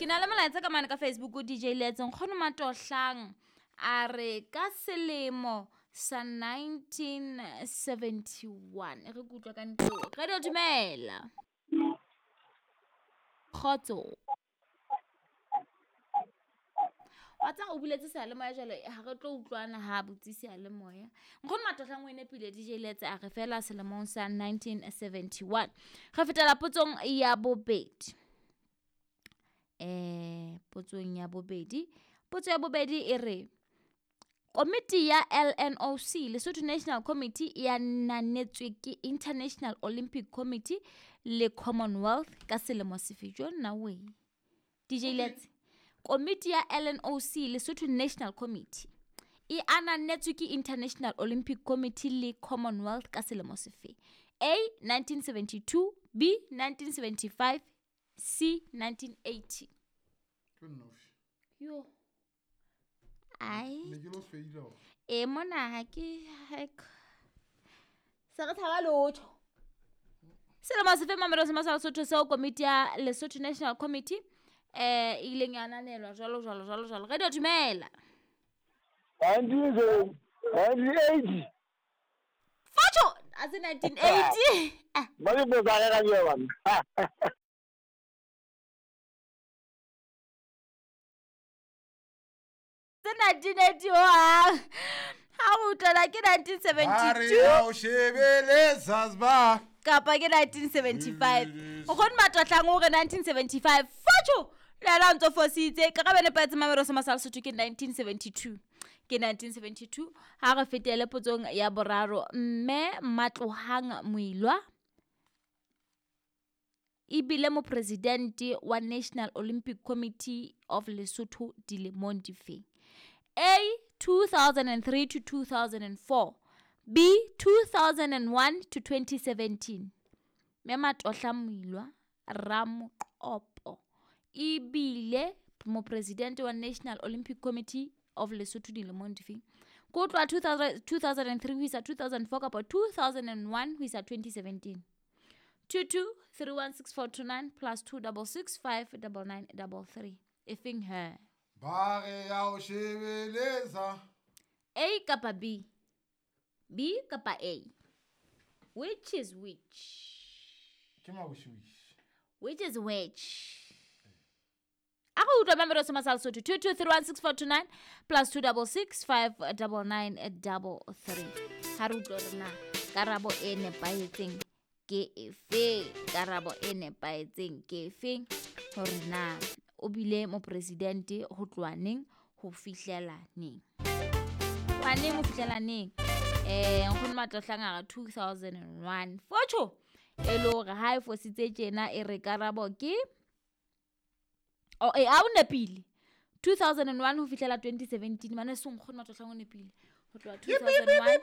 Ke na le molaetsa ka mane ka Facebook DJ Letse nkgono Matohlang a re ka selemo sa 1971 e re ke utlwa ka ntlo. Radio dumela. Kgotso. Wa tseba o buletse seyalemoya jwale ha re tlo utlwana ha butse seyalemoya. Nkgono Matohlang o e nepile DJ Letse a re fela selemong sa 1971. Re fetela potsong ya bobedi. Potsong ya bobedi. Potso ya bobedi e re Komiti ya LNOC, Lesotho National Committee, e ananetswe ke International Olympic Committee le Commonwealth ka selemo sefe? Jo nna we. DJ Letse. Komiti ya LNOC, Lesotho National Committee, e ananetswe ke International Olympic Committee le Commonwealth ka selemo sefe? A 1972, B 1975, C 1980. Ke nnoši. Yo. Ai. Ne ke lo feila. E mona ha ke se re tshaba lotho. Selemo sefe mamelo se masala Sotho seo komiti ya Lesotho National Committee e ileng ya ananelwa jwalo jwalo jwalo jwalo. Radio dumela. 1980. Fatsho a se 1980. Ba ke botsa ka yona. Se 1980 ho ha o utlwela ke 1972 o shebele Zanzibar kapa ke 1975. Nkgono Matohlang o re 1975. Fatsho le yena o ntso fositse. Karabo e nepahetseng mamelo se masala Sotho ke 1972. Ke 1972. Ha re fetele potsong ya boraro. Mme Matlohang Moilwa ebile mopresidente wa National Olympic Committee of Lesotho dilemong difeng? A 2003 to 2004, B 2001 to 2017. Mme Matohla Moilwa Ramoqopo ebile mopresidente wa National Olympic Committee of Lesotho dilemong difeng? Ko tloha 2003 ho isa 2004 kapa 2001 ho isa 2017. 22316429 plus 26659933. Efeng he? Ba re ya o shebeletsa. A kapa B? B kapa A? Which is which? Ke mawishiwishi. Which is which? A go utlwa mamelo se masala Sotho 22316429 plus 26659933. Ha re utlwe hore na karabo e nepahetseng ke efe? Karabo e nepahetseng ke efe? Hore na o bile mopresidente ho tloha neng ho fihlela neng? Tloha neng ho fihlela neng? Nkgono Matohlang a re 2001. Fotsho e le hore ha e fositse tjena e re karabo ke a o nepile 2001 ho fihlela 2017. Mane se nkgono Matohlang o nepile ho tloha 2001.